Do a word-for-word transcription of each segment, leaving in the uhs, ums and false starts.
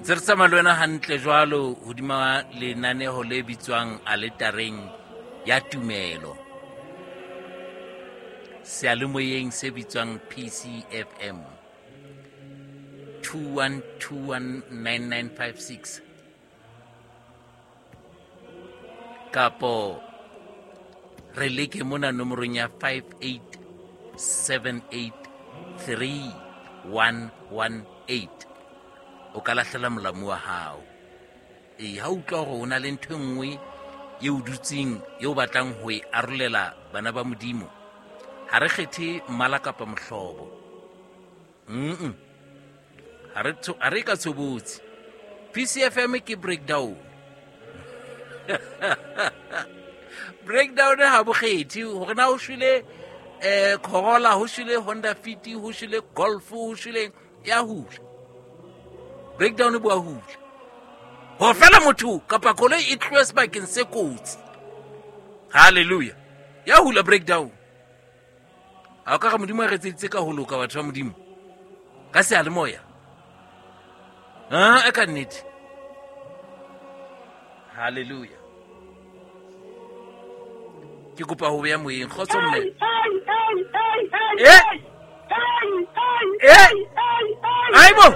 Ntse re tsamaya le wena hantle jwalo hodima lenaneho le bitswang Aletareng ya Tumelo. Seyalemoyeng se bitswang P C F M. two one two one nine nine five six. Kapo re leke mona nomorong ya five eight seven eight three one one eight. O ka lahlela molamu wa hao. Ee, ha o utlwa hore o na le ntho e nngwe e o dutseng, e o batlang ho e arolela bana ba Modimo, ha re kgethe mmala kapa mohlobo. Mm-mm. Ha re tsho-, ha re ka tshobotsi. P C F M ke breakdown. Breakdown ha bo kgethe hore na ho shwele, eh, Corolla, ho shwele Honda Fit, ho shwele Golf, ho shwele ya hula. Breakdown e bua hula. Ho fela motho kapa koloi e tlohe sebakeng se kotsi. Hallelujah. Ya hula breakdown. Ha o ka re Modimo a re etseditse ka ho loka batho ba Modimo. Ka seyalemoya. Ah, e ka nnete. Hallelujah. Ke kopa ho beha moyeng. Kgotso mme. Eh? Eh? Haibo!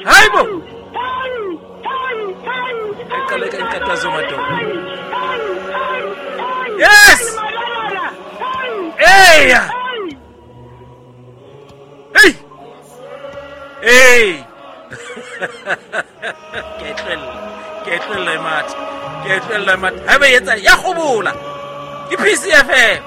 Haibo! E qale ka nkathazo madoda. Yes! Eya! Hey! Hey! Ke tlohella, ke tlohella e matha. Ke tlohella e matha. Haeba e etsa ya kgobola. Ke P C F M.